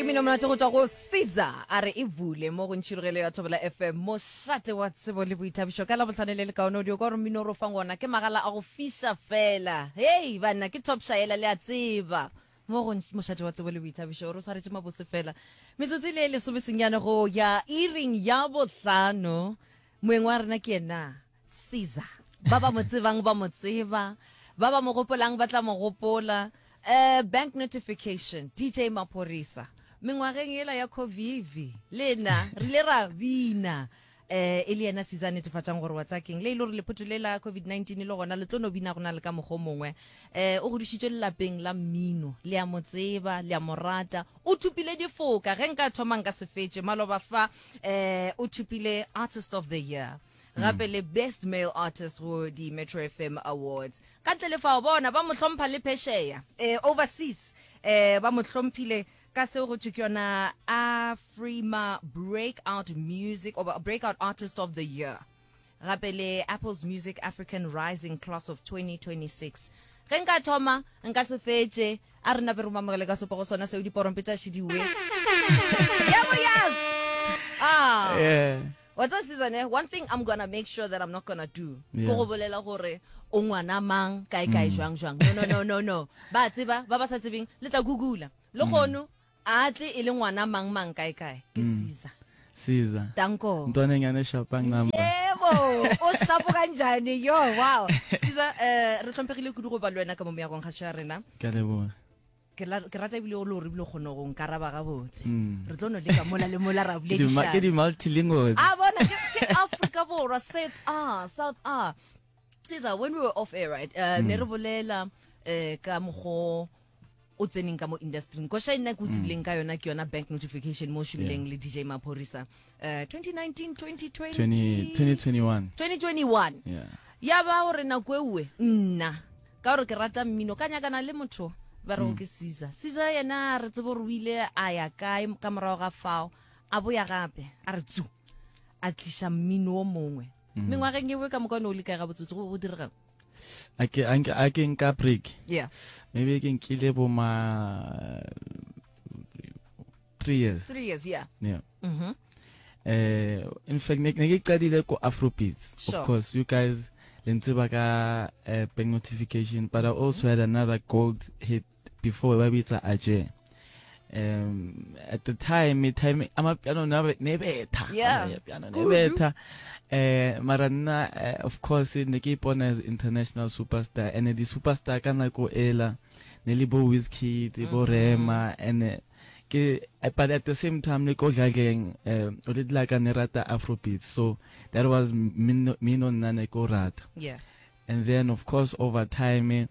Ke mmino monate go tšwa go Caesar a re e vule mo go ntšhirogelo ya Thobela FM mošate wa tsebo le boithabišo ka Labohlano le lekaone o dio kwa gore mmino o re o fang wona ke magala a go fiša fela hei banna ke top shaela le a tseba mo go mošate wa tsebo le boithabišo o re o swaretše mabose fela metsotso e le e lesomesenyane go ya iring ya bohlano moeng wa rena ke yena Caesar. Ba ba mo tsebang ba mo tseba, ba ba mo gopolang ba tla mo gopola. Uh, bank notification, DJ Maphorisa. Mengwageng yela ya Covivi, le nna re ile ra bina. Eh, e le yena Caesar a netefatšang gore wa tsaya keng. Le e le gore lephoto le la COVID-19 le gona le tlo no bina go na le ka mokgwa o mongwe. Eh, o godišitšwe lelapeng la mmino, le a mo tseba, le a mo rata. O thopile difoka, ge nka thoma nka se fetše. Maloba fa, eh, o thopile Artist of the Year. gape le best male artist go di Metro FM Awards. Ka ntle le fao bona ba mo hlompha le phesheya eh, overseas eh, ba mo hlomphile ka seo go thwe ke yona Afrima Breakout Music or Breakout Artist of the Year gape le Apple's Music African Rising Class of 2026. Ge nka thoma nka se fetše a re nape re mamogele ka sepogo sona seo diporompe tša šidiwe. Yebo yes! Ah. Yeah. Wa tseba Caesar ne, one thing I'm gonna make sure that I'm not gonna do ke Yeah. go bolela gore o ngwana mang kae kae jwang jwang. No no no no no. Ba tseba ba ba sa tsebeng le tla googla. Le kgono a tle e le ngwana mang mang kae kae ke Caesar. Caesar. Danko. Ntwana e nyane shapang number. Yebo, o shapo kanjani yo wow. Caesar eh re hlomphegile kudu go ba le wena ka mo meagong kgašo ya rena. Ke a leboga. Ke la, ke rata ebile o le gore ebile o kgone go nkaraba gabotse. Mm. Re tlo no leka mola le mola ra Ke di ma- boledišana. ke di multilingual. A bona ke, ke Afrika Borwa, South A, South A. Caesar, when we were off air, right? Uh, ne re bolela eh ka mokgo o tseneng ka mo industry. Koša e nna ke o tsebileng ka yona ke yona bank notification mo o šomileng le DJ Maphorisa. Uh, 2019, 2020. 20, 2021. 2021. Yeah. Ya ba gore nako ewe nna Ka gore ke rata mmino, ka nyakana le motho ba rego ke Caesar. Caesar yena re tsebe gore o ile a ya kae ka morago ga fao, a boya gape a re tsu, a tliša mmino o mongwe. Mengwageng ewe ka moka o ne o le kae gabotsebotse, go go diregang? A ke a nke a ke nka break. Yeah. Maybe ke nkile bo ma 3 years. 3 years, yeah. Yeah. Mhm. In fact ne ke qadile ko Afrobeats. Sure. Of course, you guys le ntseba ka bank notification, but I also had another gold hit before ba bitsa Aje. At the time, time amapiano ne betha. Yeah. Amapiano ne Kudu. betha. Mara nna of course ne ke ipona as international superstar, and the superstar ka nako ela ne le bo Wizkid, bo Rema, and ke but at the same time le ko dladleng o le dila ka ne rata Afrobeats, so that was mmino nna ne ko rata. Yeah. And then of course over time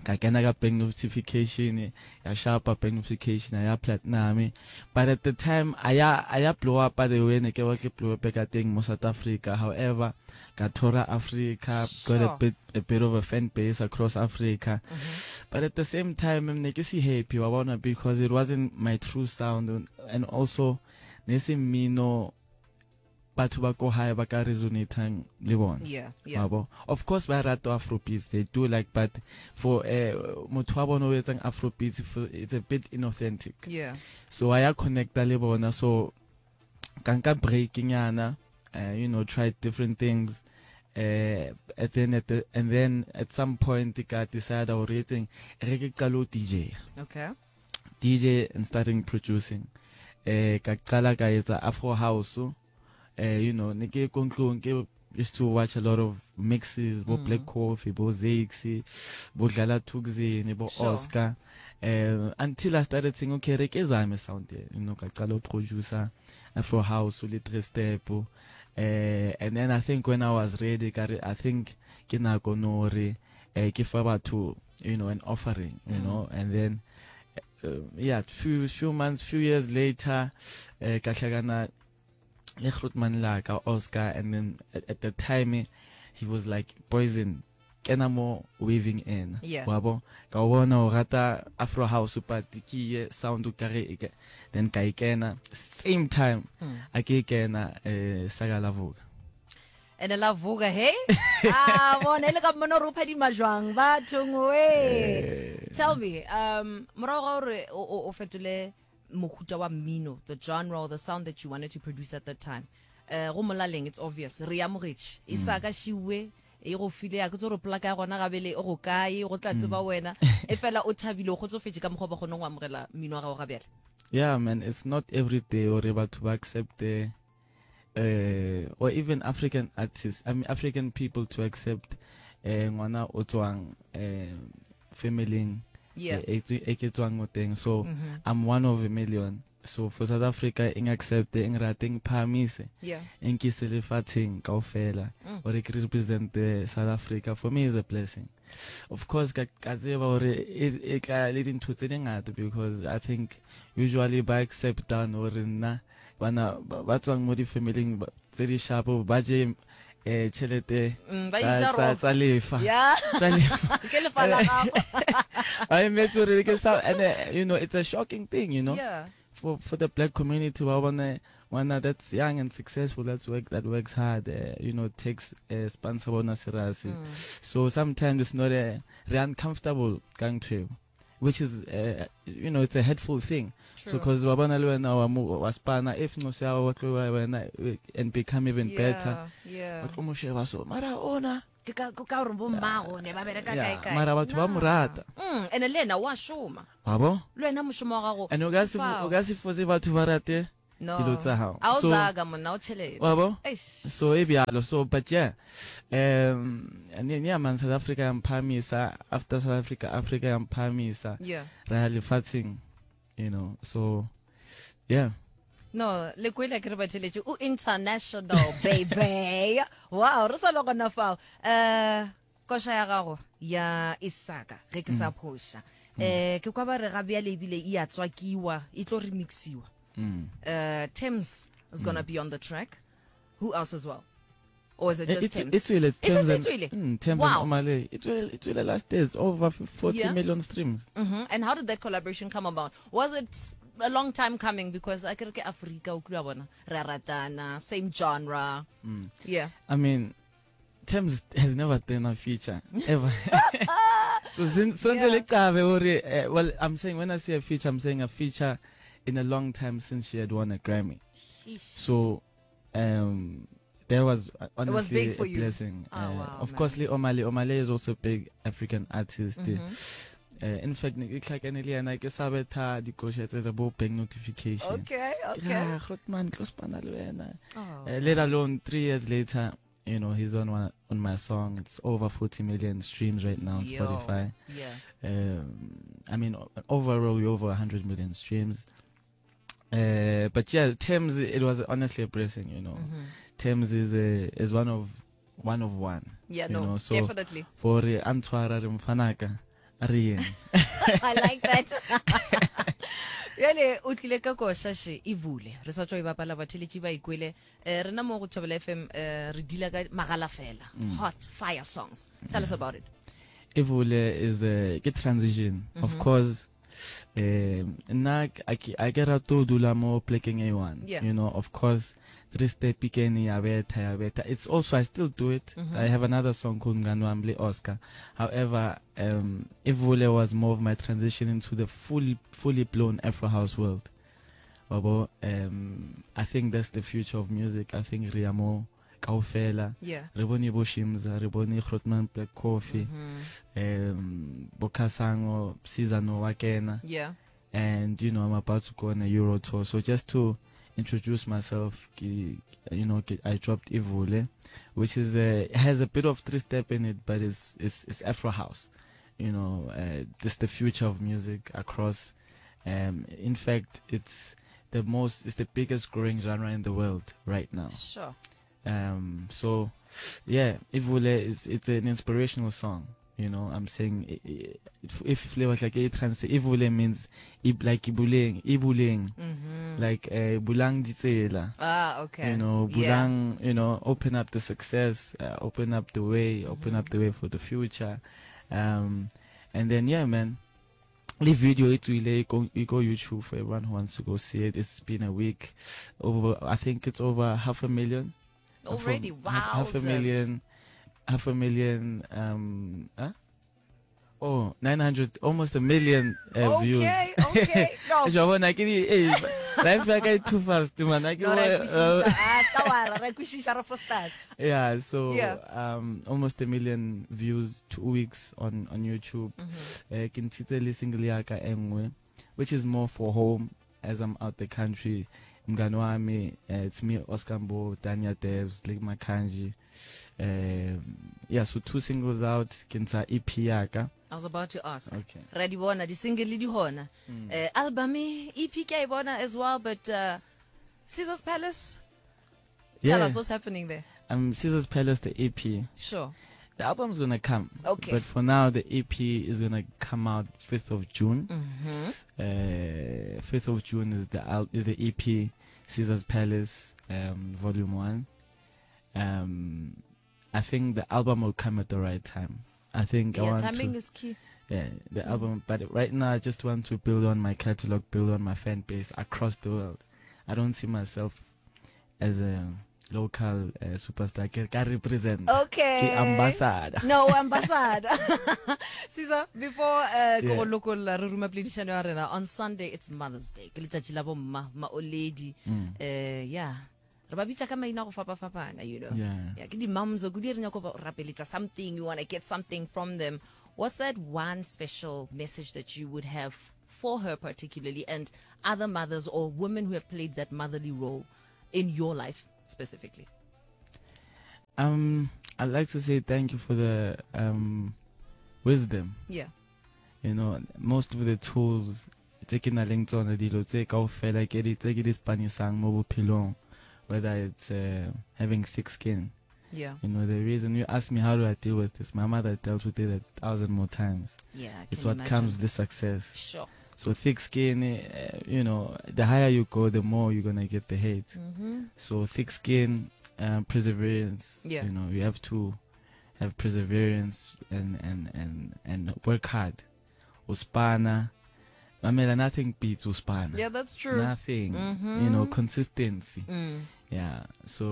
ka kena ka bank notification ya sharpa bank notification ya platinum, but at the time aya aya blow up the way ne ke batla blow up ka teng mo South Africa. However, ka tour Africa, got Sure. a bit of a fan base across Africa. But at the same time ne ke si happy wa bona, because it wasn't my true sound, and also ne se mmino batho ba ko hae ba ka resonatang le bona. Yeah, yeah. Wa bo? Of course ba rata Afrobeats, they do like, but for motho wa bona o etsang Afrobeats, it's a bit inauthentic. Yeah. So I connecta le bona, so ka nka break nyana, you know, tried different things. And then at the, and then at some point ka decide gore etseng re ke qalo DJ. Okay. DJ and starting producing. Ka qala ka etsa Afro House. You know, ne ke ko ntlong ke used to watch a lot of mixes, bo Black Coffee, bo Zakes, bo Dlala Thukzin, bo Sure. Oscar. Until I started saying, okay, re ke zame sound, you know, ka qala producer Afro House le 3 step. And then I think when I was ready, ka re, I think ke nako no re, ke fa batho, you know, an offering, you know, and then yeah, few, few months, few years later, ka hlakana le Grootman la ka Oscar, and then at the time he was like, Poison, kena mo waving in. Yeah. Wa bo? Ka o bona o rata Afro House, but ke ye sound o kare e ke, then ka e kena same time a ke e kena, saka la voka. Ene la voka, hey? Ah, bona e le ka mmona gore o phadima jwang bathong we. Tell me, morago ga gore o fetole mohuta wa mmino, the genre or the sound that you wanted to produce at that time. Eh, go molaleng, it's obvious, re e amogetše. E sa ka šiwe, e go file, a ke tse gore polaka ya gona gabele e go kae, go tla tseba wena. E fela o thabile, o kgotsofetše ka mokgwa ba kgoneng go amogela mmino wa gago ga bjale. Yeah man, it's not every day gore batho ba accepte uh, or even African artists, I mean African people to accept eh ngwana o tswang eh family Yeah. e e ke tswang mo teng. So I'm one of a million. So for South Africa eng accept eng rate eng phahamise Yeah. eng ke se lefatsheng kaofela gore ke represent South Africa for me is a blessing. Of course ka ka tseba gore e e tla le dintho tse dingata because I think usually ba accept down gore nna bana ba tswang mo di-familing tse di sharp ba je eh tšhelete mm, tsa lefa tsa lefa ke lefa la gago I met gore ke sa and uh, you know it's a shocking thing you know yeah. for for the black community ba bona ngwana that's young and successful that's work that works hard uh, you know takes uh, sponsor bona serasi mm. so sometimes it's not a re uncomfortable ka ntho which is uh, you know it's a hurtful thing. True. So cause wa bona le wena wa mo wa spana if no se wa tlo wena and become even yeah, better. Yeah. Wa tlo mo sheba so mara ona ke ka ka gore bo mmago ne ba bereka kae kae. Mara batho ba mo rata. Ene le yena wa šoma. Wa bo? Le wena mošomo wa gago. And o ka se o ka se fose batho ba rate No. dilo tsa gago. A o So zaga monna o tšhelete. wa bo? Eish. So e bjalo so but yeah um ne ne man South Africa ya mphamisa after South Africa Africa ya mphamisa Yeah. ra ya lefatsheng you know so yeah No, le kwele ke re batheletše o international baby. Wow, re sa le gona fao. Eh koša ya gago ya Isaka ge ke sa phoša. Eh ke kwa ba re ga bjale ebile e a tswakiwa, e tlo remixiwa. mm. Thames is going to be on the track. Who else as well? Or is it Eh, just it's Thames? it's really it's Is it Thames and, Tswele? Thames Wow. and Omale. It will it will last days over 40 Yeah. million streams. And how did that collaboration come about? Was it a long time coming? Because I ke Africa o kula bona re a ratana, same genre. Yeah. I mean, Thames has never done a feature ever. So since Yeah. yeah. Well, I'm saying when I say a feature, I'm saying a feature in a long time since she had won a Grammy. Sheesh. So, there was It was honestly big for a you. blessing. Oh, wow, of man. course, le Omale. Omale is also a big African artist. Mm-hmm. In fact, ne ke tlhakane le yena ke sa betha dikoša tse tsa bo bank notification. Okay, Ke okay. re, "Ah, Grootman, tlo spana le wena." Oh. Let alone 3 years later, you know, he's on one, on my song. It's over 40 million streams right now on Yo. Spotify. Yeah. I mean, overall, we're over 100 million streams. But yeah, Thames, it was honestly a blessing, you know. Mm-hmm. Thames is one of one of one. Yeah, you no, know, so definitely. For antshwara re mfanaka re yeng. I like that. Bjale o tlile ka koša še e bule. Re sa tšwa e bapala batheletši ba ikwele. Rena mo go Thobela FM re deala ka magala fela. Hot fire songs. Tell us about it. Evule is a ke transition. Of course, nna a ke rate ho dula mo plekeng e one. Yeah. You know, of course, three step ikene ya betha ya betha. It's also I still do it. I have another song called Mngani Wami le Oscar. However, Evule was more of my transition into the fully blown Afro house world. Wabo, I think that's the future of music. I think re ya mo kaofela. Yeah. Re bone bo Shimza, re bone Grootman Black Coffee, bo Kasango, Sizano wa kena. Yeah. And you know, I'm about to go on a Euro tour. So just to introduce myself, ke, you know, ke, I dropped Ivule, which is a, has a bit of three step in it, but it's Afro house. You know, just the future of music across. In fact, it's the most, it's the biggest growing genre in the world right now. Sure. So yeah, Ivule is, it's an inspirational song. You know, I'm saying if flavors like a trans, Ivule means like ibuleng, ibuleng, like bulang ditsela. Okay. You know, Yeah. bulang, you know, open up the success, open up the way, open up the way for the future. And then yeah, man, the video it will go, you go YouTube for everyone who wants to go see it. It's been a week, over, I think it's over half a million. Already, Half a wowzers. million, half a million, huh? Oh, 900, almost a million uh, okay, views. Okay, okay. No. Ja bona ke di eh life ya ka e too fast man. Ke no, re kwešiša. Ah, ka wa re kwešiša re frustad. Yeah, so yeah. um almost a million views 2 weeks on on YouTube. Mm -hmm. Eh ke ntshitse le single ya ka e nngwe which is more for home as I'm out the country. Mngani wami, uh, it's me Oscar Mbo, Dania Devs, Lig Makanji. Um, yeah, so two singles out, ke ntsha EP ya ka. I was about to ask. Okay. Ra di bona di single le di hona. Mm. Uh, album EP ke a e bona as well but uh, Caesar's Palace. Yeah. Tell us what's happening there. Um Caesar's Palace the EP. Sure. The album's gonna come. Okay. But for now, the EP is gonna come out 5th of June. Mm-hmm. Uh, 5th of June is the al- is the EP Caesar's Palace, um, Volume 1. Um, I think the album will come at the right time. I think yeah, I want timing to, is key. Yeah, the mm. album. But right now, I just want to build on my catalog, build on my fan base across the world. I don't see myself as a local uh, superstar. Ke ka represent. Okay. Ke ambassador. No, ambassador. Caesar, before uh, ke go lokolla re ruma poledišano ya rena on Sunday it's Mother's Day. Ke letšatši la bomma, ma oledi. Mm. Uh, yeah. Re ba bitša ka maina go fapafapana, you know. Yeah. Yeah, ke di-moms, kudu re nyako ba rapeletša something, you want to get something from them. What's that one special message that you would have for her particularly and other mothers or women who have played that motherly role in your life specifically? Um, I'd like to say thank you for the um, wisdom. Yeah. You know, most of the tools tse ke nang le tsona dilo tse kaofela ke di tse ke di spanisang mo bophelong whether it's uh, having thick skin yeah you know the reason you ask me how do I deal with this my mother dealt with it a thousand more times yeah it's what imagine. comes with success sure so thick skin uh, you know the higher you go the more you're gonna get the hate mm -hmm. so thick skin uh, perseverance yeah you know you have to have perseverance and and and and work hard uspana Mamela, nothing beats uspana. Yeah, that's true. Nothing. Mm -hmm. You know, consistency. Mm. Yeah. So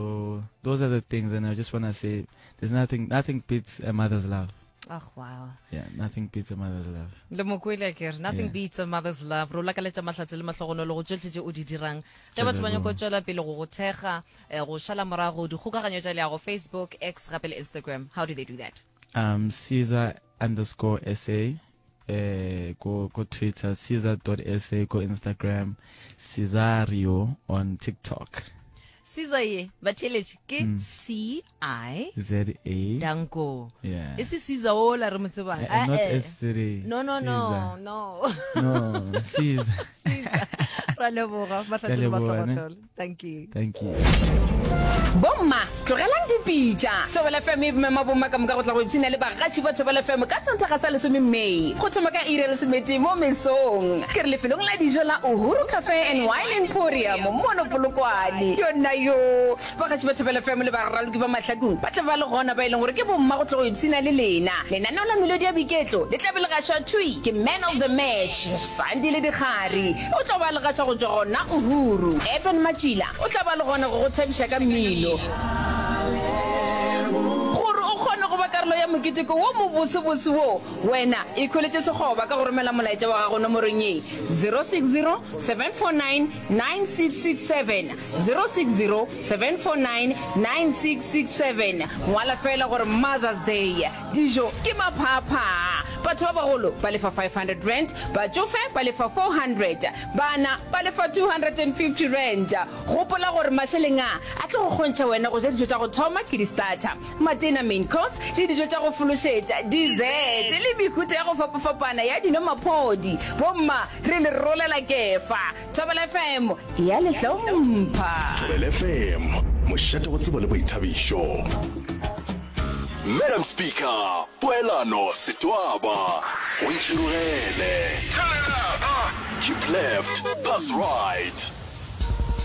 those are the things, and I just wanna say, there's nothing, nothing beats a mother's love. Oh, wow. Yeah, nothing beats a mother's love. Le mokwele ke re nothing yeah. beats a mother's love. Ro lakaletša mahlatse le mahlogonolo go tšohle tše o di dirang. Ge batho ba nyako tšwela pele go go thekga, eh, go šala morago dikgokaganyo tša leago Facebook, X gape le Instagram. How do they do that? Um, Caesar underscore SA eh, go go Twitter, Caesar.sa go Instagram, Cesario on TikTok. Caesar ye batheeletši ke mm. C I Z A Danko. Yeah. E se Caesar o la re mo tsebang. Eh, eh, not S C No no no no. No, Caesar. Caesar. Ra leboga mahlatse le mahlogonolo. Thank you. Thank you. Bomma, tlogelang dipitša. Thobela FM e mema bomma ka moka go tla go ipshina le bagaši ba Thobela FM ka Sontaga sa lesome May go thoma ka iri ya lesometee mo mesong. Ke re lefelong la dijo la Uhuru Cafe and Wine Emporium mono Polokwane. Yonna yo! Bagaši ba Thobela FM le baraloki ba Mahlakung ba tla ba le gona ba e leng gore ke bomma go tla go ipshina le lena. Lenaneo la Melodi ya Boiketlo le tla be le gašwa thwi ke Man of the Match, Sandile Dikgari. O tlo ba le gaša go tšwa gona Uhuru. Eben Matšila o tla ba le gona go go thabiša ka mmino. Gore o kgone go ba karolo ya moketeko wo mobosebose wo, wena ikhweletše sekgoba ka go romela molaetša wa gago nomorong ye, 060 749 9667, 060 749 9667. Ngwala feela gore Mother's Day. Dijo ke maphaaphaa. Batho ba bagolo ba lefa R500, batšofe ba lefa R400, bana ba lefa R250. Gopola gore mašeleng a a tlo go kgontšha wena go ja dijo tša go thoma ke di-starter, matena, main course, le dijo tša go fološetša, dessert, le mehuta ya go fapafapana ya dino maphodi. Bomma, re le rolela kefa. Thobela FM e a le hlompha. Thobela FM, mošate wa tsebo le boithabišo. Madam Speaker, Poelano Setwaba, go ntšhirogele. Keep left, pass right.